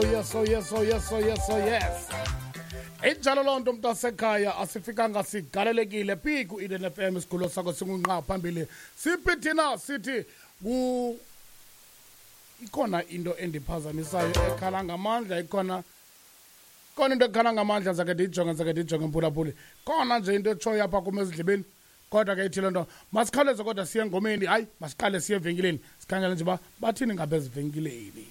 Yes, oh yes, oh yes, oh yes, oh yes. Injalo loo nto, mntasekhaya, asifikanga sigalelekile phi ku-Eden FM, isigulo sakho singunqa phambili. Siphi thina? Sithi ku ikhona into endiphazamisayo ekhala ngamandla, ikhona khona into ekhala ngamandla. Zake ndiyijonge, zake ndiyijonge, mphulaphuli. Khona nje into etshoyo apha kum ezindlebeni, kodwa ke ithi loo nto masikhawuleze kodwa siye engomeni. Hayi, masiqale siye evenkileni, sikhangele nje uba bathini ngapha ezivenkileni.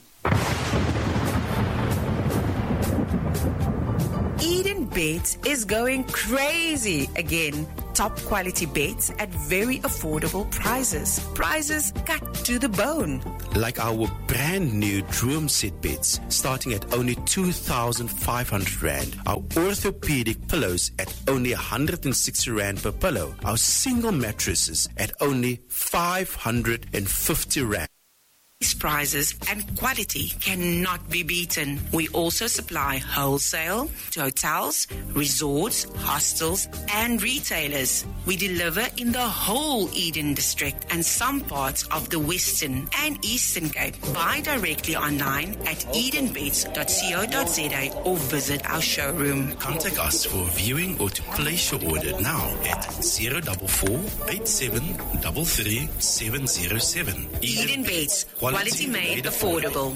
Eden Beds is going crazy again. Top quality beds at very affordable prices. Prices cut to the bone. Like our brand new Droom set beds starting at only 2,500 Rand. Our orthopedic pillows at only 160 Rand per pillow. Our single mattresses at only 550 Rand. These prices and quality cannot be beaten. We also supply wholesale to hotels, resorts, hostels, and retailers. We deliver in the whole Eden district and some parts of the Western and Eastern Cape. Buy directly online at edenbeds.co.za or visit our showroom. Contact us for viewing or to place your order now at 044 8733 707. Eden Beds, quality made affordable.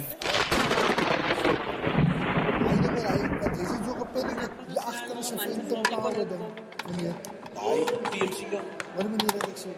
Hy meneer, hy wat jy so gepaniek het, hier agter is 'n Phantom pare ding. Meneer. Daai VMC. Wat meneer, wat ek sê?